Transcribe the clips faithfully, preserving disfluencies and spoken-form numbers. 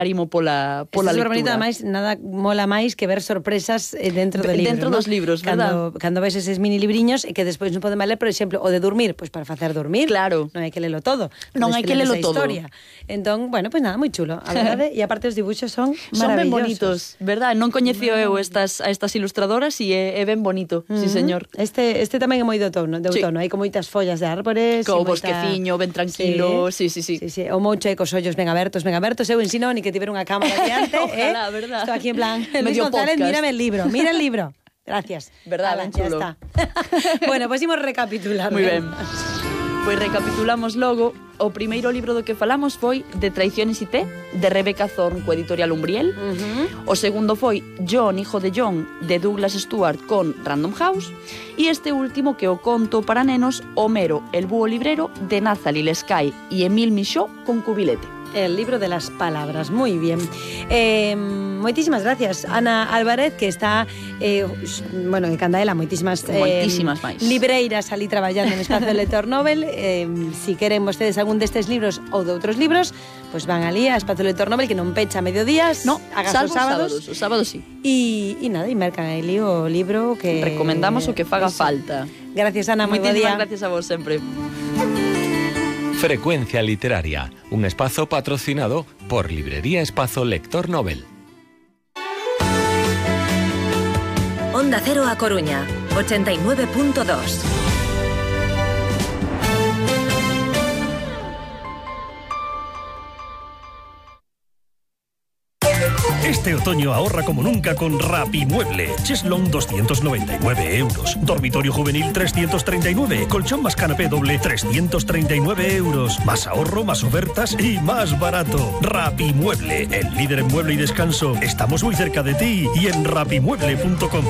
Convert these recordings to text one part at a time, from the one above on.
Arimo pola, pola Este lectura. bonito, ademais, nada mola máis que ver sorpresas dentro do libro. Dentro ¿no? dos libros, cando, verdad? cando ves eses mini libriños e que despois non podemos ler, por exemplo, o de dormir, pois para facer dormir. Claro. Non hai que lelo todo. Non hai que lelo todo. Historia. Entón, bueno, pois nada, moi chulo, a verdade, e aparte os dibuxos son Son ben maravillosos. bonitos, verdad? Non coñecía eu estas, a estas ilustradoras e é, é ben bonito, uh-huh. sí señor. Este, este tamén é moi de outono, de outono. Sí. Hai con moitas follas de árbores. Co moita... bosqueciño, ben tranquilo, sí, sí, sí. sí, sí. O moucho e cos ollos ben abertos, ben abertos. Eu ensino ni que tiver unha cámara diante. Ojalá, eh? verdad. Estou aquí en plan, Luis Medio González, podcast. mírame el libro, mira el libro. Gracias. Verdad, Ala, ben chulo. Ya está. Bueno, pois pues imos recapitular. Moi ben. Pois recapitulamos logo. O primeiro libro do que falamos foi De traiciones y té, de Rebecca Thorne, co editorial Umbriel. Uh-huh. O segundo foi John, hijo de John, de Douglas Stewart, con Random House. E este último, que o conto para nenos, Homero, el búho librero, de Nathalie Lescaille e Emile Michaud, con Cubilete. El libro de las palabras, muy bien. Eh, moitísimas gracias, Ana Álvarez, que está, eh, bueno, de Candaela, moitísimas, eh, moitísimas máis libreiras ali traballando no Espacio Lector Nobel. Eh, si queren vostedes algún destes libros ou de outros libros, pues van ali a Espacio Lector Nobel, que non pecha a mediodías, no, hagas salvo os sábados. Os sábados sí. E, e nada, e mercan ali o libro que... Recomendamos o que faga eso. Falta. Gracias, Ana, moi bo día. Moitísimas gracias a vos sempre. Frecuencia Literaria, un espazo patrocinado por Librería Espazo Lector Nobel. Onda Cero a Coruña, ochenta y nueve punto dos. Este otoño ahorra como nunca con Rapimueble. Cheslong doscientos noventa y nueve euros. Dormitorio juvenil trescientos treinta y nueve. Colchón más canapé doble trescientos treinta y nueve euros. Más ahorro, más ofertas y más barato. Rapimueble, el líder en mueble y descanso. Estamos muy cerca de ti y en rapimueble punto com.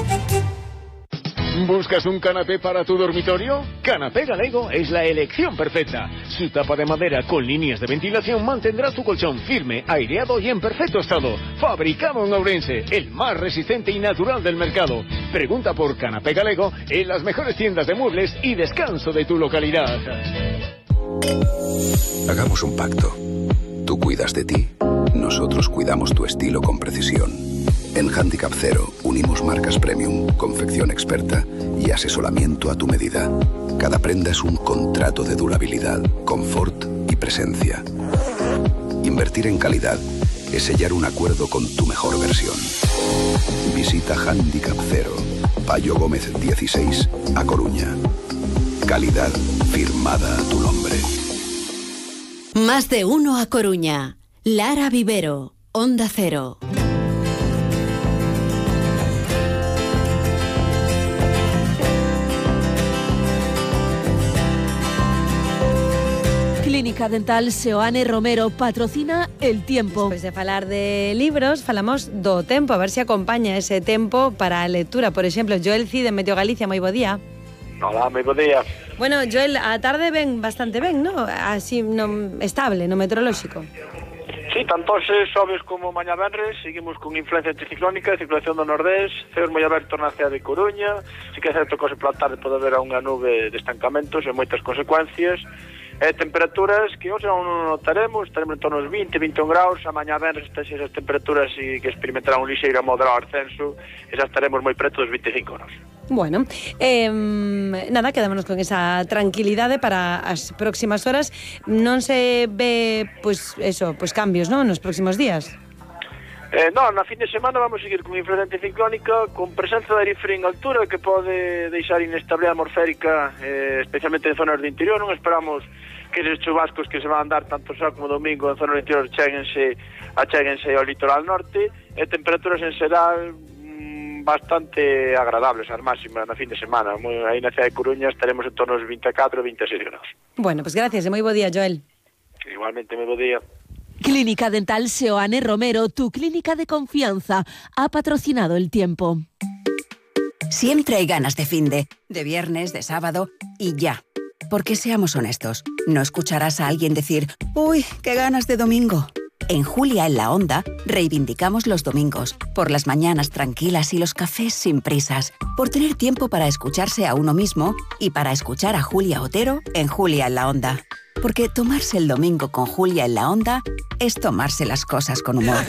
¿Buscas un canapé para tu dormitorio? Canapé Galego es la elección perfecta. Su tapa de madera con líneas de ventilación mantendrá tu colchón firme, aireado y en perfecto estado. Fabricado en Ourense, el más resistente y natural del mercado. Pregunta por Canapé Galego en las mejores tiendas de muebles y descanso de tu localidad. Hagamos un pacto. Tú cuidas de ti, nosotros cuidamos tu estilo con precisión. En Handicap Cero unimos marcas premium, confección experta y asesoramiento a tu medida. Cada prenda es un contrato de durabilidad, confort y presencia. Invertir en calidad es sellar un acuerdo con tu mejor versión. Visita Handicap Cero, Payo Gómez dieciséis, A Coruña. Calidad firmada a tu nombre. Más de uno a Coruña. Lara Vivero, Onda Cero. Clínica Dental Seoane Romero patrocina El Tiempo. Despois de falar de libros, falamos do tempo, a ver se acompaña ese tempo para a lectura. Por exemplo, Joel Cid de Meteo Galicia, moi bo día. Hola, moi bo día. Bueno, Joel, a tarde ven bastante ben, ¿no? Así, no, estable, no meteorolóxico. Sí, tanto hoxe xoves como mañá venres seguimos con influencia anticiclónica, circulación do nordés, ceos moi abertos na cidade de Coruña. Si que é certo que hoxe pola tarde pode haber unha nube de estancamentos e moitas consecuencias. E temperaturas que hoxe non notaremos, estaremos en torno aos vinte, vinte e un graus, a mañá venres esas temperaturas e que experimentarán un lixeiro moderado ascenso e xa estaremos moi preto dos vinte e cinco graus. Bueno, eh, nada, quedámonos con esa tranquilidade para as próximas horas. Non se ve, pois, pues, eso, pois pues cambios, ¿no?, nos próximos días. Eh, non, na fin de semana vamos seguir con influencia anticiclónica, con presenza de aire frío en altura que pode deixar inestabilidade atmosférica, eh, especialmente en zonas do interior. Non esperamos que esos chubascos que se van a dar tanto sábado como domingo en zonas do interior chéguense, achéguense ao litoral norte, e temperaturas en xeral mmm, bastante agradables, as máximas na fin de semana. Aí na cidade de Coruña estaremos en torno aos vinte e catro, vinte e seis graus. Bueno, pues gracias, e moi bo día, Joel. Igualmente, moi bo día. Clínica Dental Seoane Romero, tu clínica de confianza, ha patrocinado El Tiempo. Siempre hay ganas de finde, de viernes, de sábado y ya. Porque seamos honestos, no escucharás a alguien decir «Uy, qué ganas de domingo». En Julia en la Onda reivindicamos los domingos, por las mañanas tranquilas y los cafés sin prisas, por tener tiempo para escucharse a uno mismo y para escuchar a Julia Otero en Julia en la Onda. Porque tomarse el domingo con Julia en la Onda es tomarse las cosas con humor.